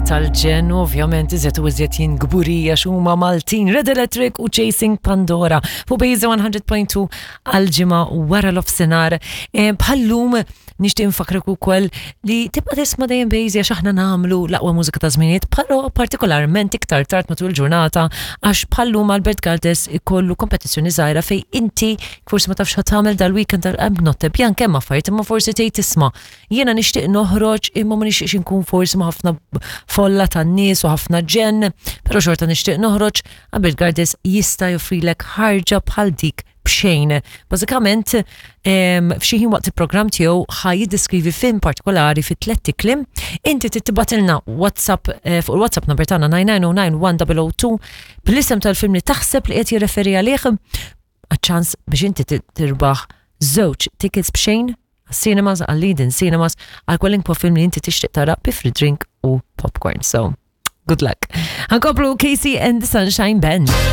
tal-ġenn, ovvjament iżjed u iżjed jien kburija x'huma Maltin, Red Electric u Chasing Pandora fuq Bejza 100.2 għal-ġimgħa wara l-ofsenar. Eh, bħallum nixtieq nfakrek ukoll li tibqa' tisma' dejjem Bejza għax aħna nagħmlu l-aqwa mużika ta' żminijiet, però partikolarment iktar tard matul il-ġurnata għax bħallum Albert Galdes ikollu kompetizzjoni żgħira fej inti forsi ma tafx tagħmel dal-weekend tal-notte bjan kemm affarijiet imma forsi tgħid tisma' Jiena nixtieq noħroġ imma ma nixtieqx inkun forsi ma' ħafna folla tan-nies u ħafna ġenn, però xorta nixtieq noħroġ, Albert Gardes jista' joffrilek ħarġa bħal dik b'xejn. Bażikament, f'xi ħin waqt il-programm tiegħu ħa jiddeskrivi film partikolari fi tlett kliem. Inti tittibatilna WhatsApp eh, fuq il-WhatsApp number tagħna 99091 bl-isem tal-film li taħseb li qed jirreferi għalih għaċ-ċans biex inti tirbaħ żewġ tickets b'xejn għas-cinemas, għal-Leading Cinemas, għal kwalinkwa film li inti tixtieq tara bi free drink u popcorn. So, good luck. Għankomplu Casey and the Sunshine Band.